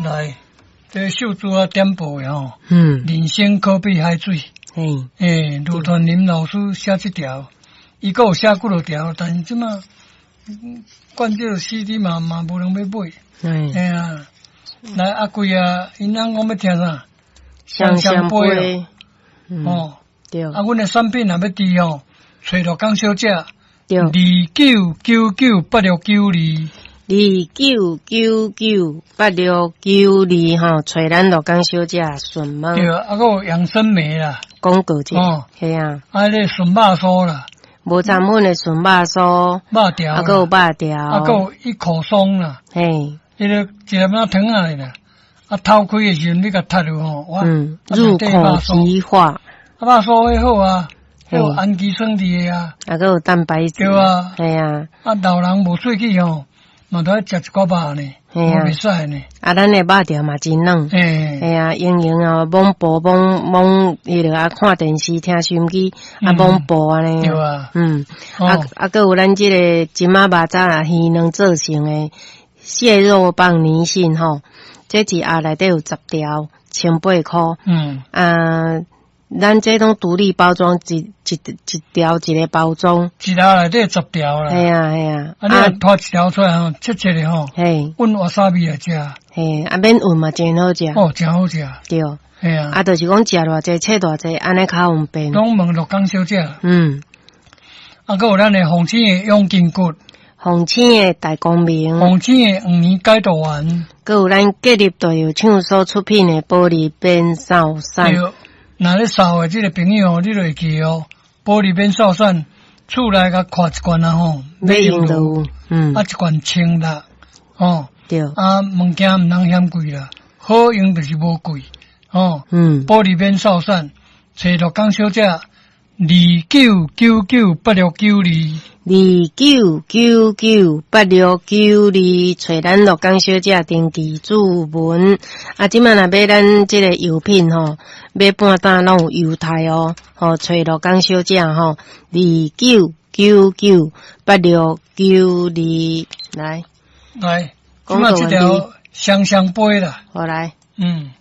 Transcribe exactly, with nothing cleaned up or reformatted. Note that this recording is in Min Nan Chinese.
來，這秀珠啊點播的吼，嗯，人生可比海水。嘿，欸，盧傳林老師寫這條，伊閣有寫幾落條，但是這馬灌這個 C D 嘛嘛無人欲買。嘿，嘿啊，來阿貴啊，𪜶翁講欲聽啥？雙雙杯，嗯，哦，對，啊，阮的產品若欲佇吼，揣陸江小姐，對，二九九九八六九二，二九九九八六九二吼，揣咱陸江小姐詢問。對，啊，閣有養生梅啦，廣告者，哦，嘿啊，啊，彼個純肉酥啦，無摻粉的純肉酥，肉條，啊，閣有肉條，啊，閣有一口鬆啦，嘿，彼個一粒仔糖仔的啦，啊，透開的時陣你共踢落吼，哇，嗯，入口即化，啊，肉酥彼好啊，有氨基酸佇的啊，啊，閣有蛋白質，對啊，嘿啊，啊，老人無喙齒吼，嘛都愛食一寡肉呢，嘿啊，袂使呢。啊，咱的肉條嘛真軟，嘿，嘿啊，營養啊，罔補罔罔，彼个啊，看電視聽收音機啊，罔補按呢。對啊，嗯，啊啊，閣有咱這個金仔肉粽啊，魚卵做成的蟹肉棒泥信吼，這一盒內底有十條，千八箍。嗯，啊，咱這攏獨立包裝，一一一條一個包裝，一盒內底十條啦。嘿啊嘿啊，啊，你若拖一條出來吼，切切的吼，嘿，混わさび來食。嘿，啊免混嘛真好食。哦，真好食。對。嘿啊。啊，就是講食偌濟，切偌濟，按呢較方便。攏問陸江小姐。嗯。啊，閣有咱的鳳青的養筋骨。鳳青的大光明。鳳青的黃連解毒丸。閣有咱吉立大藥廠所出品的保利變瘦散。對。若咧瘦的這個朋友，你就會記哦。保利變瘦散，厝內共看一罐啊吼，欲用就有，嗯，啊一罐千六，哦，對，啊物件毋通嫌貴啦，好用就是無貴，哦，嗯，保利變瘦散，揣陸江小姐，二九九九八六九二，二九九九八六九二，揣咱陸江小姐登記注文。啊，這擺若買咱這個藥品吼，買半擔攏有優待哦。吼，揣陸江小姐吼，二九九九八六九二，來來，這擺這條雙雙杯啦，好來，嗯。